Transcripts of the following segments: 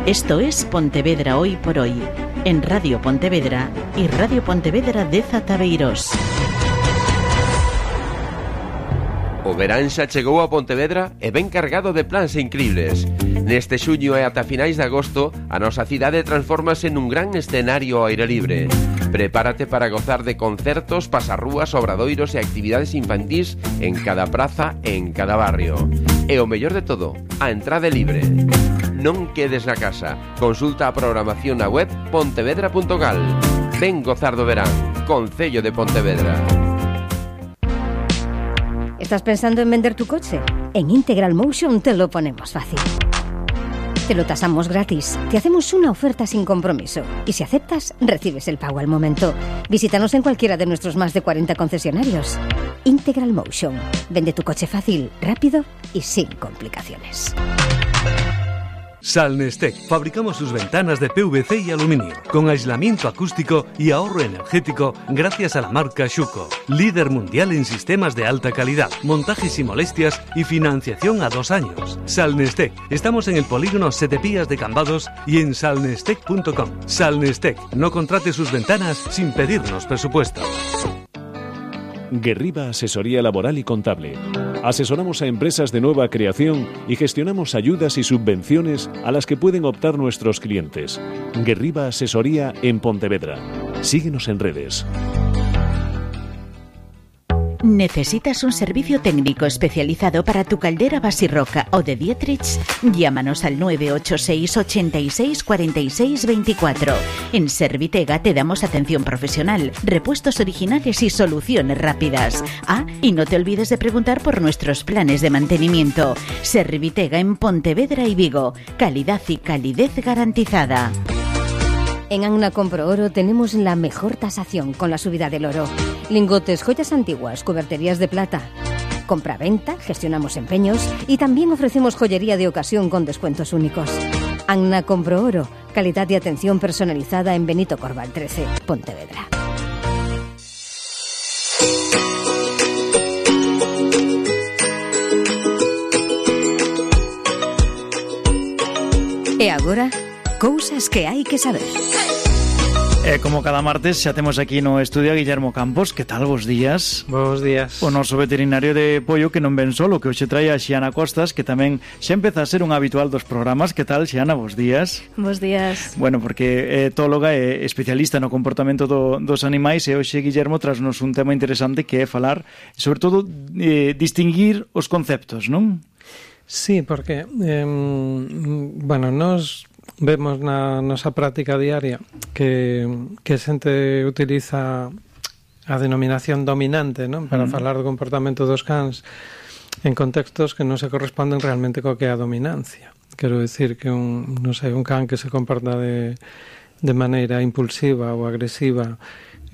Esto es Pontevedra Hoy por Hoy, en Radio Pontevedra y Radio Pontevedra de Zataveiros. O verán xa chegou a Pontevedra e ben cargado de plans incribles. Neste xuño e ata finais de agosto, a nosa cidade transfórmase nun gran escenario ao aire libre. Prepárate para gozar de concertos, pasarrúas, obradoiros e actividades infantís en cada praza e en cada barrio. E o mellor de todo, a entrada é libre. Non quedes na casa. Consulta a programación na web pontevedra.gal. Ven gozar do verán. Concello de Pontevedra. ¿Estás pensando en vender tu coche? En Integral Motion te lo ponemos fácil. Te lo tasamos gratis, te hacemos una oferta sin compromiso y si aceptas, recibes el pago al momento. Visítanos en cualquiera de nuestros más de 40 concesionarios. Integral Motion. Vende tu coche fácil, rápido y sin complicaciones. Salnestec. Fabricamos sus ventanas de PVC y aluminio, con aislamiento acústico y ahorro energético gracias a la marca Schuco, líder mundial en sistemas de alta calidad, montajes y molestias y financiación a 2 años. Salnestec. Estamos en el polígono Setepías de Cambados y en salnestec.com. Salnestec. No contrate sus ventanas sin pedirnos presupuesto. Guerriba Asesoría Laboral y Contable. Asesoramos a empresas de nueva creación y gestionamos ayudas y subvenciones a las que pueden optar nuestros clientes. Guerriba Asesoría en Pontevedra. Síguenos en redes. ¿Necesitas un servicio técnico especializado para tu caldera Basirroca o de Dietrich? Llámanos al 986 86 46 24. En Servitega te damos atención profesional, repuestos originales y soluciones rápidas. Y no te olvides de preguntar por nuestros planes de mantenimiento. Servitega en Pontevedra y Vigo. Calidad y calidez garantizada. En Anna Compro Oro tenemos la mejor tasación con la subida del oro. Lingotes, joyas antiguas, cuberterías de plata. Compra-venta, gestionamos empeños y también ofrecemos joyería de ocasión con descuentos únicos. Anna Compro Oro, calidad y atención personalizada en Benito Corval 13, Pontevedra. E agora, cousas que hai que saber. Como cada martes xa temos aquí no estudio a Guillermo Campos. Que tal, bos días? Bos días. O noso veterinario de pollo que non ven solo, que hoxe trae a Xiana Costas, que tamén xa empeza a ser un habitual dos programas. Que tal, Xiana? Bos días. Bos días. Bueno, porque é etóloga e especialista no comportamento dos animais, e hoxe Guillermo trasnos un tema interesante que é falar, sobre todo, distinguir os conceptos, non? Sí, porque, nos vemos na nosa práctica diaria que a xente utiliza a denominación dominante, non? Para falar do comportamento dos cans en contextos que non se corresponden realmente co que é a dominancia. Quero dicir que un can que se comporta de maneira impulsiva ou agresiva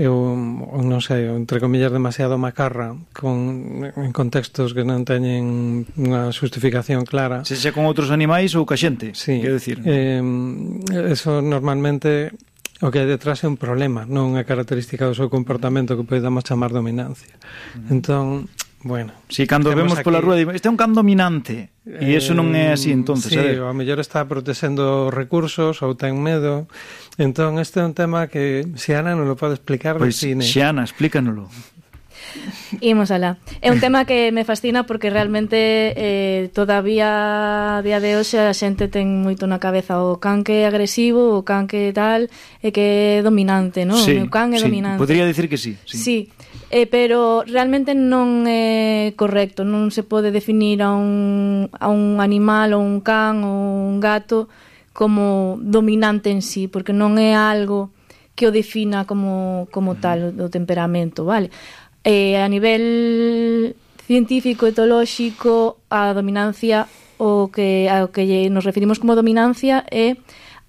entre comillas demasiado macarra en contextos que non teñen unha justificación clara, se xa con outros animais ou ca xente, sí, quero dicir, eso normalmente o que hai detrás é un problema, non unha característica do seu comportamento que podemos chamar dominancia. Entón, bueno, si cando vemos aquí pola rúa este é un can dominante e iso non é así, entonces, sí, a mellor está protexendo recursos ou ten medo. Entón, este é un tema que Xiana non lo pode explicar pois, de cine. Xiana, explícanolo. Imos alá. É un tema que me fascina porque realmente todavía a día de hoxe a xente ten moito na cabeza o can que é agresivo, o can que tal, e que é dominante, non? Sí, o can é dominante. Podría dicir que sí. Sí. Pero realmente non é correcto, non se pode definir a un animal ou un can ou un gato como dominante en sí, porque non é algo que o defina como tal o temperamento, vale? A nivel científico, etolóxico, a dominancia ao que nos referimos como dominancia é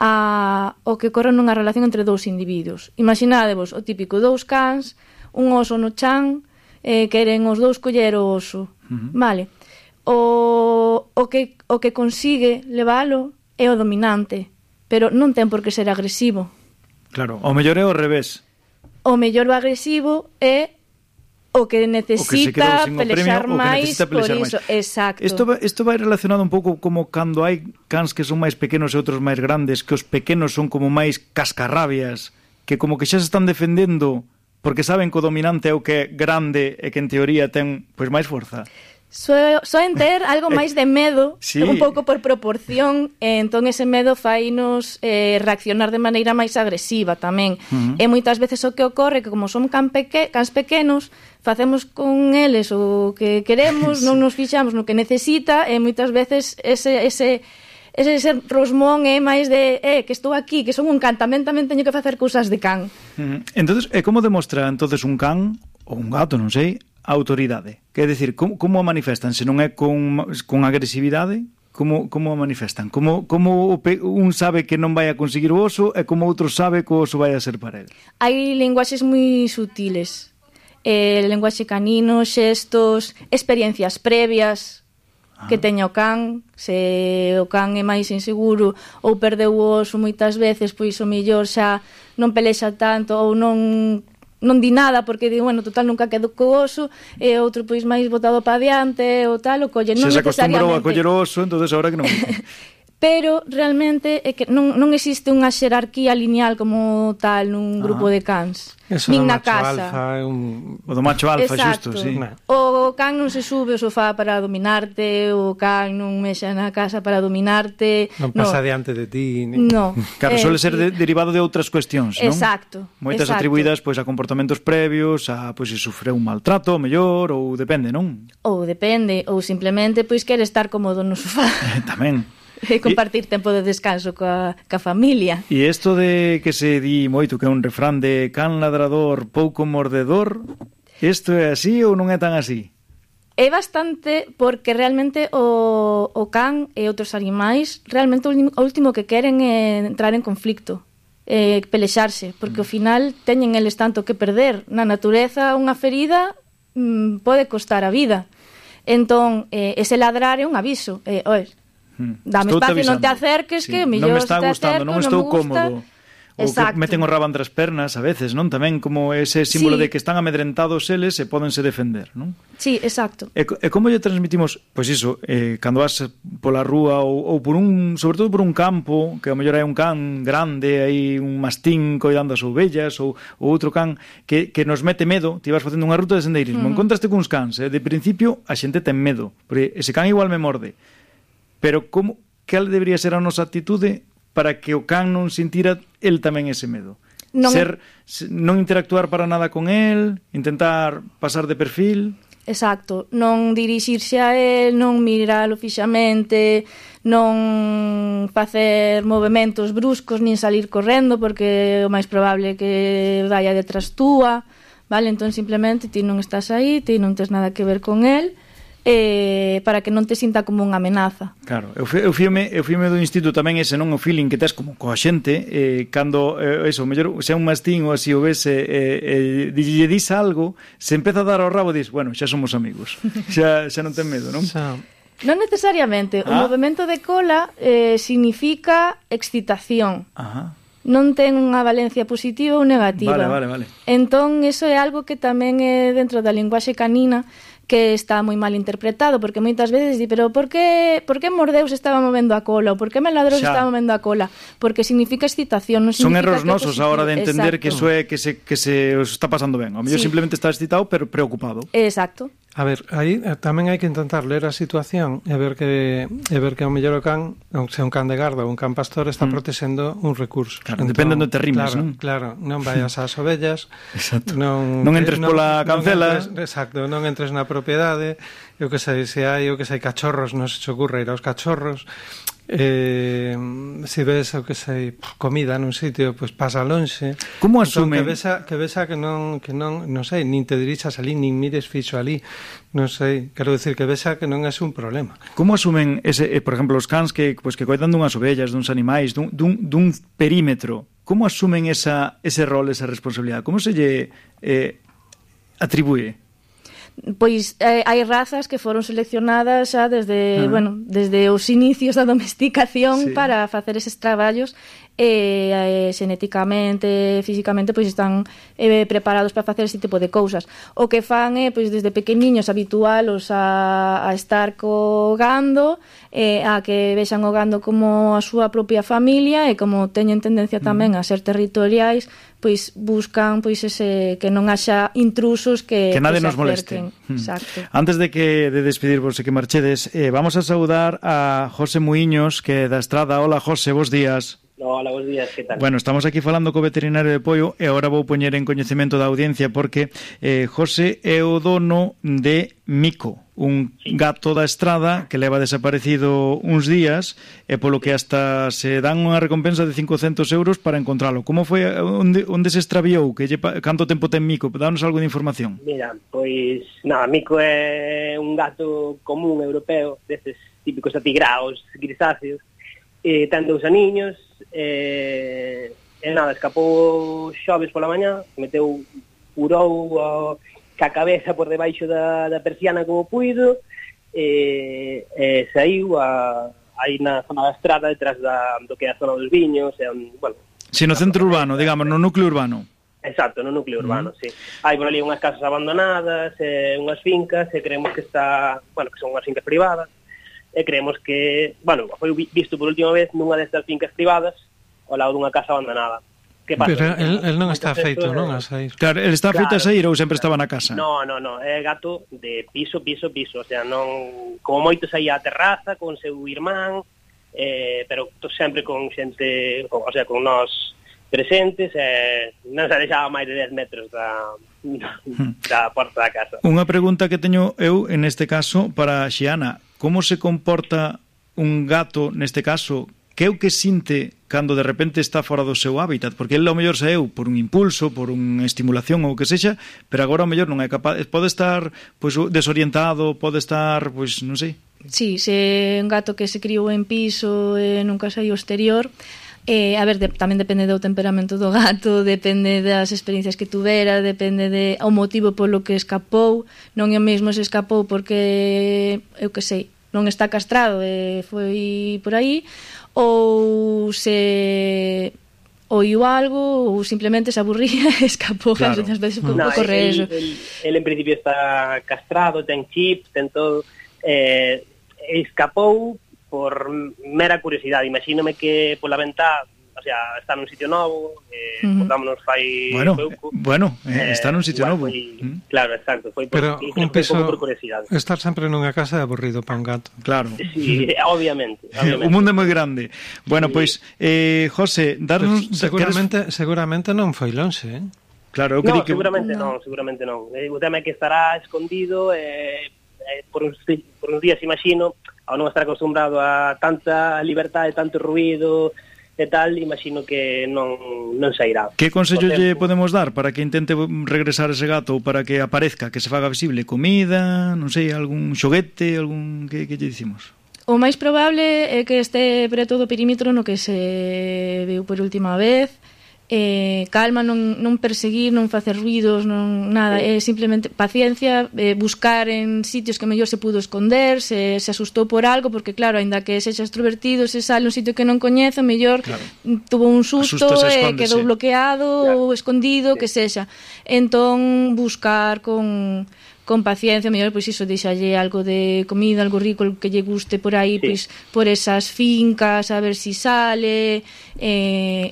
o que ocorre nunha relación entre dous individuos. Imaginádevos o típico dous cans, un oso no chan, queren os dous coller o oso, vale? O que consigue levalo é o dominante, pero non ten por que ser agresivo. Claro, o mellor é o revés. O mellor o agresivo é o que necesita pelexar máis por iso. Exacto. Isto vai relacionado un pouco como cando hai cans que son máis pequenos e outros máis grandes, que os pequenos son como máis cascarrabias, que como que xa se están defendendo porque saben que o dominante é o que é grande e que en teoría ten pois máis forza. Soen ter algo máis de medo, sí, un pouco por proporción, e entón ese medo fainos reaccionar de maneira máis agresiva tamén. E moitas veces o que ocorre que como son cans pequenos, facemos con eles o que queremos, non nos fixamos no que necesita, e moitas veces ese rosmón é máis de que estou aquí, que son un can, tamén teño que facer cousas de can. Entonces, como demostra entonces un can ou un gato, non sei, a autoridade? Quer decir, como a manifestan? Se non é con agresividade, como a manifestan? Como un sabe que non vai a conseguir o oso e como outro sabe que o oso vai a ser para el? Hai linguaxes moi sutiles, linguaxe canino, xestos, experiencias previas que teña o can. Se o can é máis inseguro ou perdeu o oso moitas veces, pois o mellor xa non pelexa tanto ou non di nada porque di, bueno, total nunca quedo co oso, e outro pois máis botado para diante ou tal, o colle, non necesariamente. Se acostumbrou a coller o oso, entonces ahora que non. Pero realmente é que non existe unha xerarquía lineal como tal nun grupo de cans. Eso nin do na macho casa. Alfa é O do macho alfa, exacto, xusto, sí. O can non se sube ao sofá para dominarte, o can non mexa na casa para dominarte. Non pasa diante de ti. No. Claro, suele ser derivado de outras cuestións, non? Exacto. Moitas atribuídas pois a comportamentos previos, a pois se sufreu un maltrato, mellor, ou depende, non? Ou depende, ou simplemente pois quere estar cómodo no sofá. Tamén. E compartir tempo de descanso coa familia. E isto de que se di moito que é un refrán de can ladrador, pouco mordedor, isto é así ou non é tan así? É bastante, porque realmente o can e outros animais realmente o último que queren é entrar en conflicto, pelexarse, porque ao final teñen eles tanto que perder. Na natureza unha ferida pode costar a vida. Entón, ese ladrar é un aviso. Dame espacio, non te acerques, sí, que mellor non me está gustando, non estou cómodo. Ou exacto, que meten o rabo entre as pernas a veces, non? Tamén como ese símbolo sí, de que están amedrentados eles e pódense defender, non? Sí, exacto. E como lle transmitimos, pois iso, cando vas pola rúa ou por sobre todo por un campo, que ao mellor hai un can grande, hai un mastín coidando as ovellas ou outro can que nos mete medo, ti vas facendo unha ruta de sendeirismo, encontraste cuns cans, de principio a xente ten medo, porque ese can igual me morde. Pero cal debería ser a nosa actitude para que o can non sintira el tamén ese medo? Non interactuar para nada con el, intentar pasar de perfil. Exacto, non dirixirse a el, non miralo fixamente, non facer movementos bruscos, nin salir correndo, porque o máis probable é que vaya detrás túa, vale? Entón simplemente ti non estás aí, ti non tes nada que ver con el, para que non te sinta como unha amenaza. Claro, eu fíome do instinto tamén ese, non o feeling que tes como coa xente, cando eso, mellor se é un mastín ou así o ves lle dis algo, se empeza a dar ao rabo e dis, bueno, xa somos amigos. Xa non ten medo, non? Non necesariamente, o movemento de cola significa excitación. Ajá. Non ten unha valencia positiva ou negativa. Vale. Entón, eso é algo que tamén é dentro da linguaxe canina que está moi mal interpretado, porque moitas veces di, pero por que mordeu se estaba movendo a cola, ou por que me ladrou se estaba movendo a cola? Porque significa excitación, non significa. Son erros nosos a hora de entender que eso é que se os está pasando ben. O mellor simplemente está excitado, pero preocupado. Exacto. A ver, aí tamén hai que intentar ler a situación e ver que ao mellor o can, se un can de garda ou un can pastor, está protexendo un recurso. Claro, depende onde te rimes, non? Claro, non vayas ás ovellas. Exacto. Non entres pola cancela. Exacto, non entres na propiedade. Eu que sei, se hai cachorros, non se te ocurra ir aos cachorros. Se ves, o que sei, comida nun sitio, pois pasa lonxe. Como asumen? Que vesa que non sei, nin te dirixas ali, nin mires fixo ali, non sei, quero decir que vesa que non é un problema. Como asumen ese, por exemplo, os cans que coidan dunhas ovellas, duns animais, dun perímetro? Como asumen ese rol, esa responsabilidade? Como se lle atribúe? Pois hai razas que foron seleccionadas xa desde os inicios da domesticación para facer eses traballos, xenéticamente, físicamente, pois están preparados para facer ese tipo de cousas. O que fan é, pois desde pequeniños, habitualos a estar co gando, a que vexan o gando como a súa propia familia, e como teñen tendencia tamén a ser territoriais, pois buscan pois ese que non haxa intrusos que nadie nos moleste. Exacto. Antes de despedirvos e que marchedes, vamos a saudar a José Muiños, que é da Estrada. Hola, José, bos días. Hola, bons días, que tal? Bueno, estamos aquí falando co veterinario de Poio e agora vou poñer en coñecemento da audiencia porque José é o dono de Mico, un gato da Estrada que leva desaparecido uns días e polo que hasta se dan unha recompensa de 500 euros para encontralo. Como foi, onde se extraviou? Canto tempo ten Mico? Danos algo de información. Mira, pois, nada, Mico é un gato común europeo, destes típicos atigraos grisáceos, ten 2 aniños, e nada, escapou xoves pola mañá, purou ca cabeza por debaixo da persiana como puido, e saiu aí na zona da Estrada, detrás do que é a zona dos viños, bueno... Si, no centro urbano, digamos, no núcleo urbano. Exacto, no núcleo urbano, sí. Hai por ali unhas casas abandonadas, unhas fincas, e creemos que que son unhas fincas privadas, e creemos que, foi visto por última vez nunha destas fincas privadas ao lado dunha casa abandonada. Que pasa? Pero el non está feito, non? A sair. Claro, el está feito a sair ou sempre estaba na casa? No, é gato de piso, o sea, non, como moito saía á terraza con seu irmán, pero sempre con xente, o sea, con nós presentes, non se deixaba máis de 10 metros da porta da casa. Unha pregunta que teño eu, en este caso, para Xiana. Como se comporta un gato, neste caso, que é o que sinte cando de repente está fora do seu hábitat? Porque ele ao mellor saeu por un impulso, por unha estimulación ou o que sexa, pero agora ao mellor non é capaz, pode estar pois desorientado, pode estar, pois non sei. Sí, se un gato que se criou en piso e nunca saiu exterior, a ver, tamén depende do temperamento do gato, depende das experiencias que tuvera, depende o motivo polo que escapou. Non é o mesmo se escapou porque, eu que sei, non está castrado e foi por aí, ou se oiu algo ou simplemente se aburría e escapou. Claro. Ás veces ocorre eso. Ele en principio está castrado, ten chip, ten todo, escapou por mera curiosidade. Imagínome que pola ventá, o sea, está nun sitio novo, botámonos fai pouco. Bueno, está nun sitio novo. Claro, exacto. Foi pero un piso, por curiosidade. Estar sempre nunha casa é aburrido para un gato. Claro. Sí, obviamente. O mundo é moi grande. Bueno, pois, José, darnos... Seguramente non foi lonxe, Claro, eu no, seguramente non. O tema é que estará escondido por uns días, imagino, ao non estar acostumbrado a tanta liberdade, tanto ruido e tal, imagino que non sairá. Que consello lle podemos dar para que intente regresar ese gato ou para que aparezca, que se faga visible? Comida, non sei, algún xoguete, algún... Que lle dicimos? O máis probable é que este preto do perímetro no que se viu por última vez. Calma, non perseguir, non facer ruidos, non nada, é simplemente paciencia, buscar en sitios que mellor se pudo esconder, se asustou por algo, porque claro, aínda que sexa extrovertido, se sale un sitio que non coñece, mellor tuvo un susto e quedou bloqueado ou escondido, que sexa. Entón, buscar con paciencia, mellor, pois iso, deixalle algo de comida, algo rico que lle guste por aí, pois por esas fincas, a ver si sale,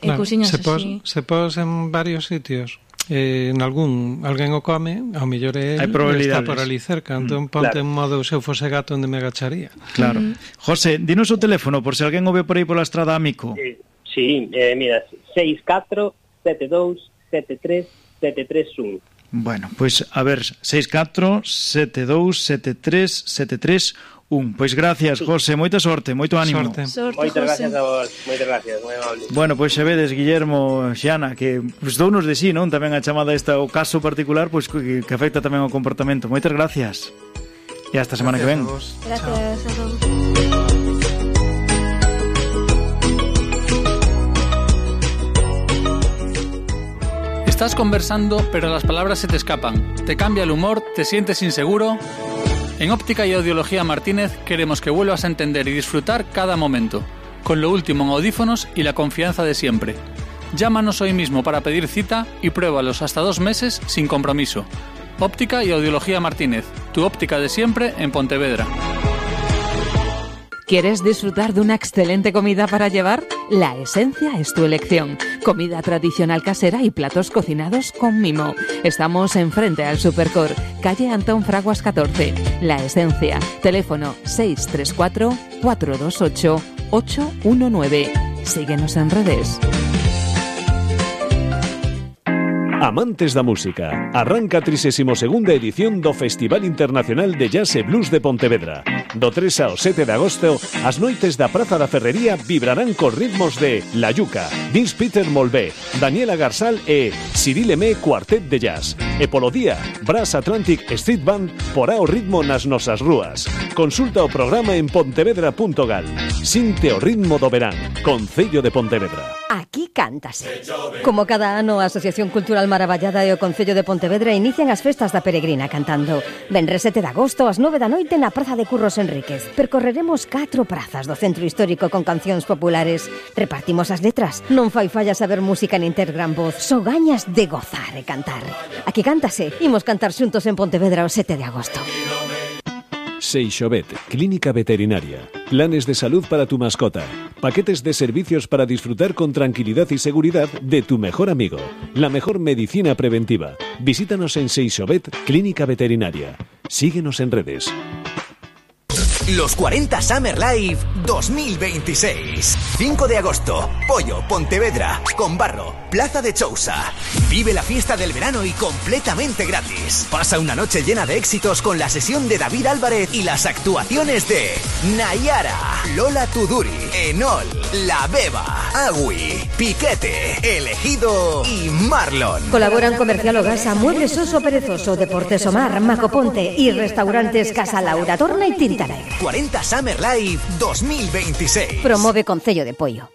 cousiñas así. Se pos en varios sitios, en alguén o come, ao mellor está por ali cerca, entón ponte en modo se eu fose gato onde me agacharía. Claro. José, dinos o teléfono por se alguén o ve por aí pola Estrada Amico. Sí, mira, 64 72 73 731. Bueno, pois, a ver, 64 72 73 731. Pois gracias, José, moita sorte, moito ánimo. Moitas gracias a vos, moitas gracias, moi amable. Bueno, pois xa vedes, Guillermo, Xiana, que dounos de sí, non? Tamén a chamada esta, o caso particular, pois que afecta tamén ao comportamento. Moitas gracias. E hasta a semana que ven. Gracias a todos. Estás conversando, pero las palabras se te escapan. Te cambia el humor, te sientes inseguro. En Óptica y Audiología Martínez queremos que vuelvas a entender y disfrutar cada momento. con lo último en audífonos y la confianza de siempre. Llámanos hoy mismo para pedir cita y pruébalos hasta 2 meses sin compromiso. Óptica y Audiología Martínez, tu óptica de siempre en Pontevedra. ¿Quieres disfrutar de una excelente comida para llevar? La Esencia es tu elección. Comida tradicional casera y platos cocinados con mimo. Estamos enfrente al Supercor, calle Antón Fraguas 14. La Esencia. Teléfono 634 428 819. Síguenos en redes. Amantes da música, arranca a 32ª edición do Festival Internacional de Jazz e Blues de Pontevedra. Do 3 ao 7 de agosto, as noites da Praza da Ferrería vibrarán cos ritmos de La Yuca, Vince Peter Molvé, Daniela Garsal e Cyril Emé Cuartet de Jazz. E polo día, Brass Atlantic Street Band porá o ritmo nas nosas rúas. Consulta o programa en pontevedra.gal. Sinte o ritmo do verán, Concello de Pontevedra. Aquí cántase. Como cada ano, a Asociación Cultural Maravallada e o Concello de Pontevedra inician as festas da Peregrina cantando. Venres 7 de agosto, ás 9 da noite na Praza de Curros Enríquez. Percorreremos 4 prazas do centro histórico con cancións populares. Repartimos as letras. Non fai falla saber música nin ter gran voz. Só gañas de gozar e cantar. Aquí cántase. Imos cantar xuntos en Pontevedra o 7 de agosto. Seixovet, clínica veterinaria. Planes de salud para tu mascota. Paquetes de servicios para disfrutar con tranquilidad y seguridad de tu mejor amigo. La mejor medicina preventiva. Visítanos en Seixovet, clínica veterinaria. Síguenos en redes. Los 40 Summer Live 2026. 5 de agosto, Pollo, Pontevedra, Conbarro, Plaza de Chousa. Vive la fiesta del verano y completamente gratis. Pasa una noche llena de éxitos con la sesión de David Álvarez y las actuaciones de Nayara, Lola Tuduri, Enol, La Beba, Agui, Piquete, Elegido y Marlon. Colaboran Comercial Ogasa, Muebles Oso Perezoso, Deportes Omar, Macoponte y Restaurantes Casa Laura Torna y Tinta Negra. 40 Summer Live 2026. Promueve Concello de Pollo.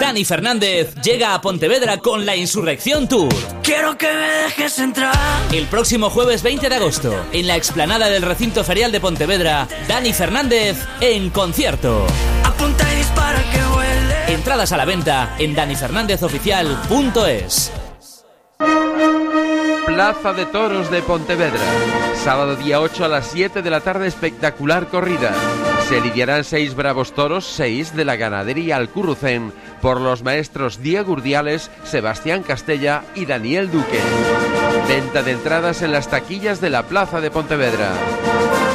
Dani Fernández llega a Pontevedra con la Insurrección Tour. Quiero que me dejes entrar. El próximo jueves 20 de agosto, en la explanada del Recinto Ferial de Pontevedra, Dani Fernández en concierto. Apunta y dispara que huele. Entradas a la venta en danifernández.oficial.es. Plaza de Toros de Pontevedra. Sábado día 8 a las 7 de la tarde, espectacular corrida. Se lidiarán 6 bravos toros, 6 de la ganadería Alcurrucén, por los maestros Diego Urdiales, Sebastián Castella y Daniel Duque. Venta de entradas en las taquillas de la Plaza de Pontevedra.